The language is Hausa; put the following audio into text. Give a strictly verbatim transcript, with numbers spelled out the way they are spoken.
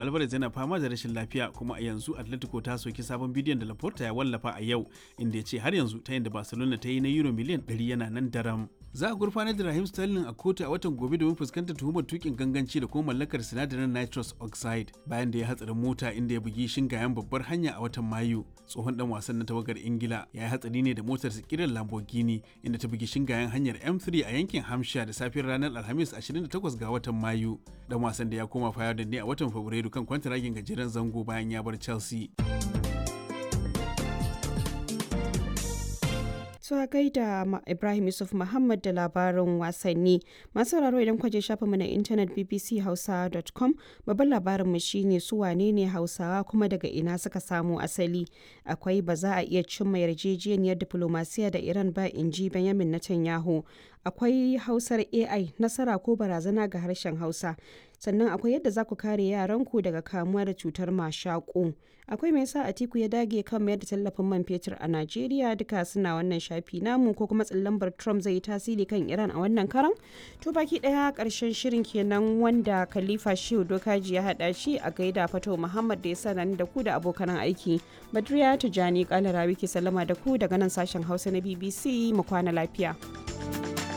Alvarez yana fama da rashin lafiya, kuma a yanzu Atletico ta soki sabon bidiyon da Laporta ya wallafa a yau, inda ya ce har yanzu ta da Barcelona ta yi na euro miliyan ɗari yana nan daram. Za a gurfanar da Raheem Sterling a kotu a watan gobe domin fuskantar tuhumar tukin ganganci da kuma mallakar sinadarin nitrous oxide bayan da ya hatsarin mota inda ya bugi shingayen babbar hanya a watan Mayu. Tsohon dan wasan na tawagar Ingila ya yi hatsari ne da motar kiran Lamborghini inda ta bugi shingayen hanyar M three a yankin Hampshire da safiyar ranar Alhamis ashirin da takwas ga watan Mayu. Dan wasan da ya koma Feyenoord ne a watan Fabrairu kan kwantaragin gajeren zango bayan ya bar Chelsea. So a gaida Ibrahim Yusuf Muhammad da labarin wasanni. Masu sauraro, idan kwaje shafinmu na intanet b b c hausa dot com, babban labarinmu shine su wane ne Hausawa kuma daga ina suka samo asali. Akwai ba za a iya cimma yarjejeniyar diplomasiya da Iran ba, in ji Benjamin Netanyahu. Akwai Hausar A I, nasara ko barazana ga harshen Hausa. Sannan akwai yadda za ku kare yaranku daga kamuwa da cutar mashaƙo. Akwai me yasa Atiku ya dage kan mayar da tallafin man fetur a Najeriya. Duka suna wannan shafi namu, ko kuma lambar Trump zai yi tasiri kan Iran a wannan karan. To, baki daya karshen shirin kenan wanda Khalifa Shehu Dokaji ya hada shi. A gaida Fato Muhammad da ya sa da ku da abokan aiki. Badriya Tijani Kalarawi ke sallama da ku daga nan sashen Hausa na B B C. Mu kwana lafiya.